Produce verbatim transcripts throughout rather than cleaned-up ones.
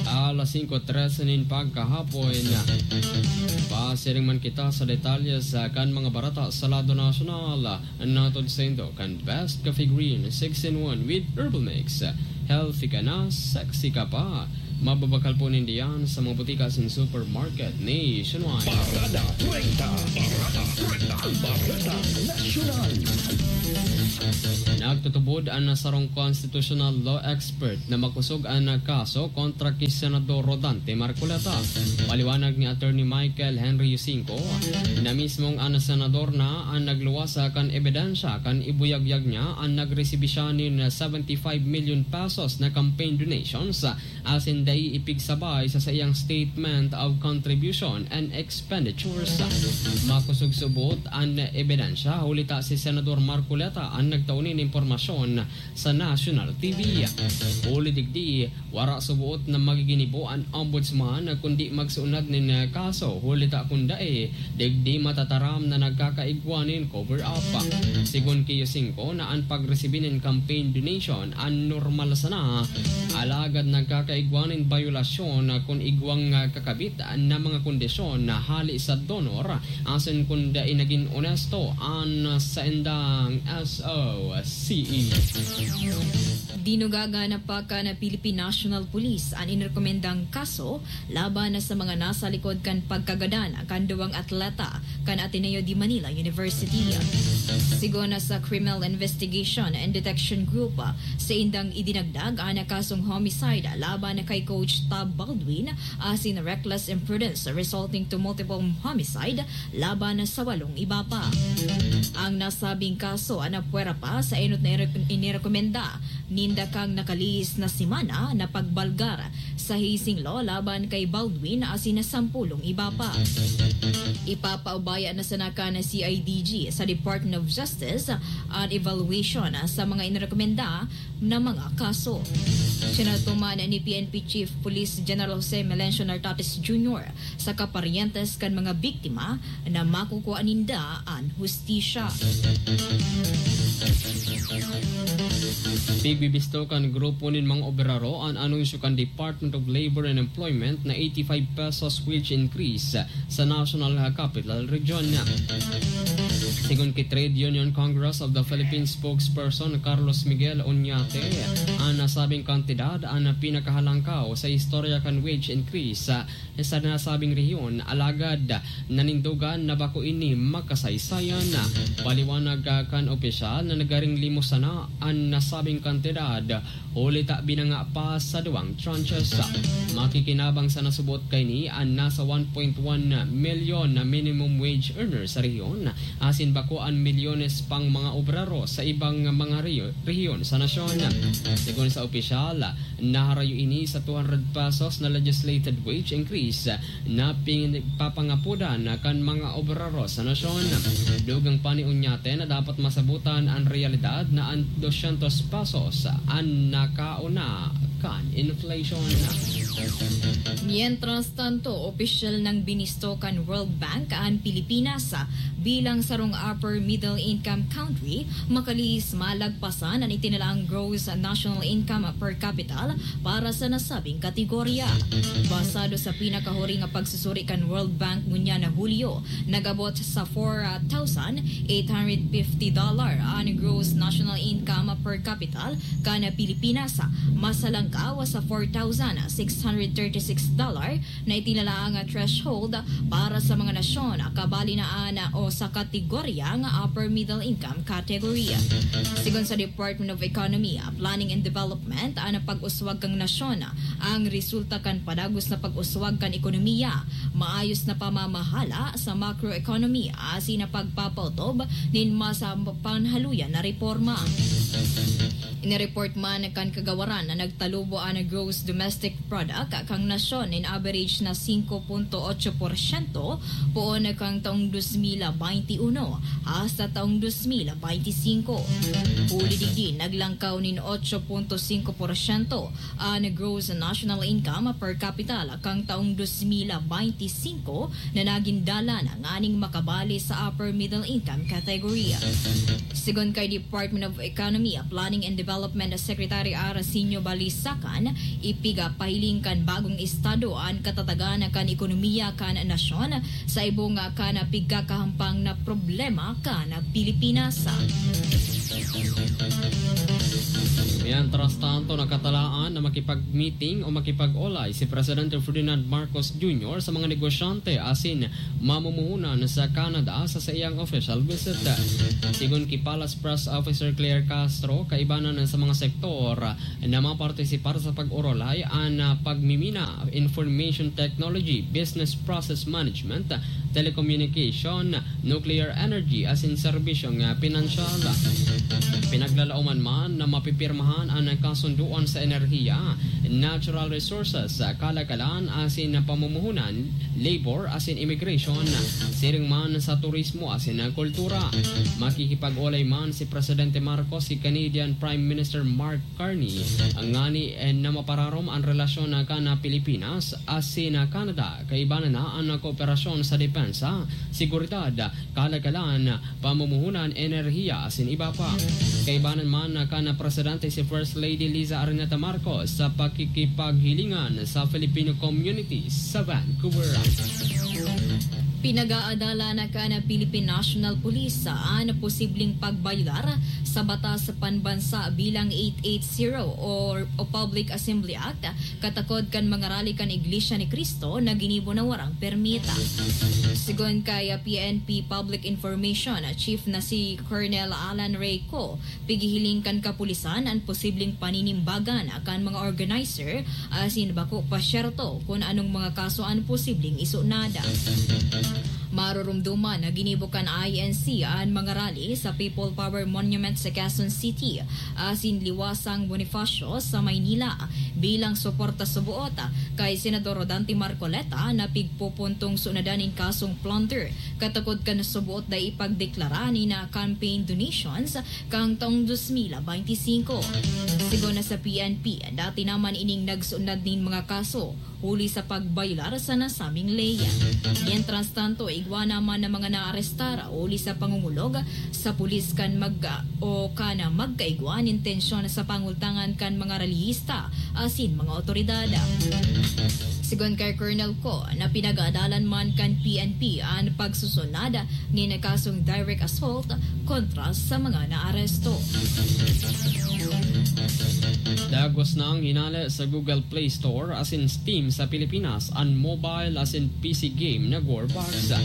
Alas singko trese nin pagkahapon. Pasiring man kita sa detalye sa kan mga barata sa lado nasyonal. Natod saindo kan Best Coffee Green six-in-one with Herbal Mix. Healthy ka na, sexy ka pa. Mababakal po ninda yan sa mga butika asin supermarket nationwide. Parada treinta. Parada treinta. Ang Barata Nasyonal. Nagtutubod an sarong constitutional law expert na makosog an kaso kontra ki Senador Rodante Marcoleta. Paliwanag ni Attorney Michael Henry Yusinco na mismong an senador na an nagluwas kan ebidensya kan ibuyagyag niya an nagresibi siya nin seventy-five million pesos na campaign donations asin dai ipigsabay sa saiyang statement of contribution and expenditures. Makosog subot an ebidensya, huli ta si Senador Marcoleta an nagtao nin impormasyon sa National T V. Huli digdi, wara subot na magiginibo an Ombudsman kundi magsuunad nin kaso, huli ta kun dai, digdi matataram na nagkakaigwa nin cover-up. Sigon ki Yusinco na an pagresibi nin campaign donation an normal sana, alagad nagkakaigwa nin bayolasyon kun igwang kakabit na mga kondisyon na hali sa donor asin kun dai nagin onesto an saindang S O C E. Dinugagan pa kan Philippine National Police an inirekomendang kaso laban sa mga nasa likod kan pagkagadan kan duwang atleta kan Ateneo de Manila University. Sigon sa Criminal Investigation and Detection Group, saindang idinagdag an kasong homicide laban kay Coach Tab Baldwin asin reckless imprudence resulting to multiple homicide laban sa walong iba pa. Ang nasabing kaso napwera pa sa enot na inirek-, inirekomenda ninda kang nakalihis na semana na pagbalgar sa hazing law laban kay Baldwin asin na sampulong iba pa. Ipapaubaya na sana kan C I D G sa Department of Justice an evaluation sa mga inirekomenda na mga kaso. Sinatuman ni P N P Chief Police General Jose Melencio Nartates Junior saka paryentes kan mga biktima na makukua ninda an hustisya. Pigbibisto kan grupo nin mga obrero an anunsyo kan Department of Labor and Employment na eighty-five pesos wage increase sa National Capital Region. Sigon ki Trade Union Congress of the Philippines spokesperson Carlos Miguel Oñate, an nasabing kantidad an pinakahalangkaw sa istorya kan wage increase sa nasabing rehiyon, alagad nanindogan na bako ini makasaysayan. Paliwanag kan opisyal na nagaring limos sana an nasabing kantidad, huli ta binanga pa sa duwang tranches. Makikinabang sa nasubot kaini an nasa one point one milyon na minimum wage earner sa rehiyon, asin bako an milyones pang mga obrero sa ibang mga reyo-, rehiyon sa nasyon. Sigon sa opisyal, naharayo ini sa two hundred pesos na legislated wage increase na pigpapangapodan kan mga obrero sa nasyon. Dugang pa ni Oñate na dapat masabutan an reyalidad na an dosyentos pesos an nakauna kan inflation. Mientras tanto, opisyal nang binisto kan World Bank an Pilipinas bilang sarong upper middle income country, makalihis malagpasan an itinalaang gross national income per capita para sa nasabing kategorya. Basado sa pinakahuri nga pagsusuri kan World Bank ngunyan na Hulyo, nag-abot sa four thousand eight hundred fifty dollar an gross national income per capita kan Pilipinas, masalangkaw sa four thousand six hundred thirty-six dollar na itinalaang threshold para sa mga nasyon kabali na an o sa kategoryang upper middle income category. Sigon sa Department of Economy, Planning and Development, an pag-uswag kan nasyon ang resulta kan padagos na pag-uswag kan ekonomiya, maayos na pamamahala sa macroeconomy, asin na pagpapautob nin mas, ah, panhaluyan na reporma. Inireport man kan kagawaran na nagtalubo an gross domestic product kan nasyon nin average na singko punto otso porsyento poon kan taong dos mil baynte uno hasta taong dos mil baynte singko. Huli digdi, naglangkaw nin otso punto singko porsyento an gross national income per capita kan taong dos mil baynte singko na nagin dalan nganing makabali sa upper middle income category. Sigon kay Department of Economy, Planning and Development Secretary Arsenio Balisacan, ipigapahiling kan bagong estado an katatagan kan ekonomiya kan nasyon sa ibong kan pigkakahampang na problema kan Pilipinas. Mientras tanto, nakatalaan na makipag-meeting o makipag-olay si Presidente Ferdinand Marcos Junior sa mga negosyante asin mamumuhunan sa Canada sa saiyang official visit. Sigon ki Palace Press Officer Claire Castro, kaibanan sa mga sektor na mapartisipar sa pag-orolay an pagmimina, information technology, business process management, telecommunication, nuclear energy asin serbisyong pinansyal. Pinaglalaoman man na mapipirmahan an kasunduan sa enerhiya, natural resources, kalakalan asin pamumuhunan, labor asin immigration, siring man sa turismo asin kultura. Makikipag-olay man si Presidente Marcos ki Canadian Prime Minister Mark Carney ngani na mapararom an relasyon kan Pilipinas asin Canada, kaibanan na an kooperasyon sa depensa, seguridad, kalakalan, pamumuhunan, enerhiya asin iba pa. Kaibanan man kan Presidente si First Lady Liza Araneta Marcos sa pakikipaghilingan sa Filipino community sa Vancouver. Pinag-aadalan kan Philippine National Police an posibleng pagbayolar sa batas panbansa bilang eight eight zero o, o Public Assembly Act, katakod kan mga rally kan Iglesia ni Cristo na ginibo na warang permita. Sigon kay P N P Public Information Chief na si Colonel Alan Ray Co, pighihiling kan kapulisan an posibleng paninimbagan kan mga organizer asin bako pa syerto kun anong mga kaso an posibleng isunod. Marurumduman na ginibo kan I N C an mga rally sa People Power Monument sa Quezon City asin Liwasang Bonifacio sa Maynila bilang suporta suboot kay Senador Dante Marcoleta na pigpupuntong sunadan nin kasong plunder katakod kan suboot dai ipagdeklara nin campaign donations kan taong dos mil benti singko. Sigon na sa P N P, dati naman ining nagsunod nin mga kaso huli sa pagbayolar sa nasabing ley. Mientras tanto, igwa naman ang mga naarestar huli sa pangungulog sa pulis kan mag o kan magkaigwa nin tensyon sa pangultangan kan mga relihista asin mga otoridad. Sigon kay Colonel Co na pinag-aadalan man kan P N P an pagsusunod nin kasong direct assault kontra sa mga naaresto. Dagos na ang hinale sa Google Play Store asin Steam sa Pilipinas an mobile asin P C game na Gorbox.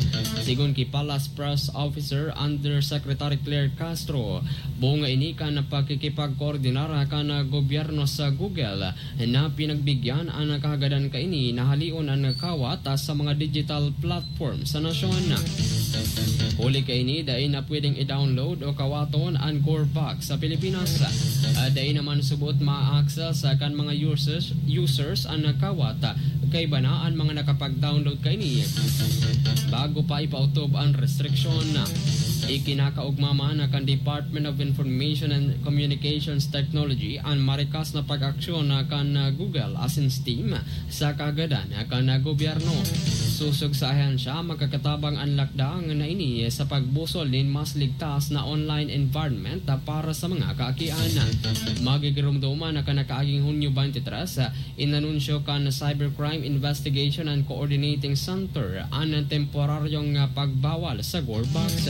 Sigon ki Palace Press Officer Undersecretary Claire Castro, bunga ini kan pakikipagkoordinar kan gobyerno sa Google na pinagbigyan an kahagadan kaini na haleon an kawat sa mga digital platform sa nasyon. Huli kaini, dai na pwedeng i-download o kawaton an Gorbox sa Pilipinas. Ah, dai naman subot ma-access kan mga users, users an kawat kaiba na an mga nakapag-download kaini bago pa ipautob an restriksyon. Ikinakaogma man kan Department of Information and Communications Technology an marikas na pag-aksyon kan Google asin Steam sa kahagadan kan gobyerno. Sosog sa ahensya, makakatabang an lakdang na ini sa pagbusol nin mas ligtas na online environment para sa mga kaakian. Magigiromdoman na kan nakaaging Hunyo twenty-three, inanunsyo kan Cybercrime Investigation and Coordinating Center an temporaryong pagbawal sa Gorbox.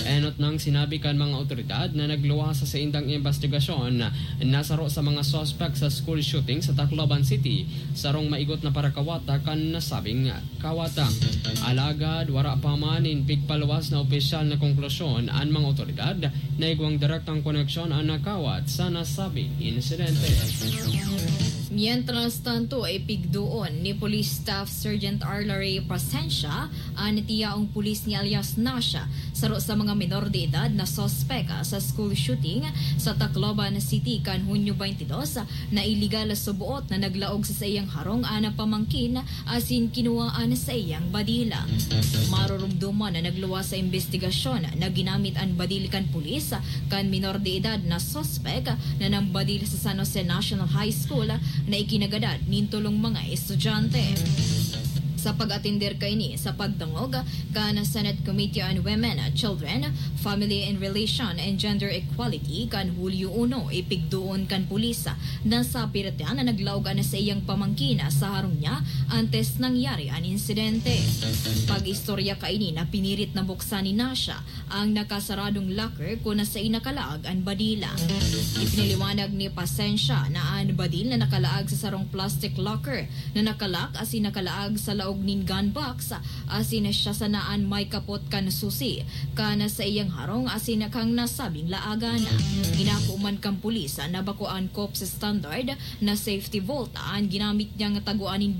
Enot nang sinabi kan mga otoridad na nagluwas sa indang investigasyon na saro sa mga suspek sa school shooting sa Tacloban City, sarong maigot na parakawat kan nasabing kawat. Alagad wara pa man nin pigpaluwas na opisyal na konklusyon an mga otoridad na igwang direktang koneksyon an kawat sa nasabing insidente. Mientras tanto, ipigdoon ni Police Staff Sergeant Arlary Pasensia an tiyaong pulis ni alias Nasha, saro sa mga menor de edad na suspek sa school shooting sa Tacloban City kan Hunyo twenty-two, na iligal suboot na naglaog sa saiyang harong an pamangkin asin kinuwaan sa iyang badila. Marurumduman na nagluwas sa imbestigasyon na ginamit an badil kan pulis kan minor de edad na suspek na nambadil sa San Jose National High School na ikinagadan nin tolong mga estudyante. Sa pag-atender kaini sa pagdangog kan Senate Committee on Women, Children, Family and Relation and Gender Equality kan Hulyo uno, ipigdoon kan pulis na sa piratian na naglaog an saiyang pamangkin sa harong niya antes nangyari an insidente. Pag-istorya kaini na pinirit na buksan ni Nasha ang nakasaradong locker kun nasai nakalaag an badil. Ipinaliwanag ni Pasensya na an badil na nakalaag sa sarong plastic locker na nakalak asin nakalaag sa laog nin gun box, asin siya sana an may kapot kan susi kan saiyang harong asin kan nasabing laagan. Inako man kan pulis na bako an COPS standard na safety vault an ginamit niyang tagoan nin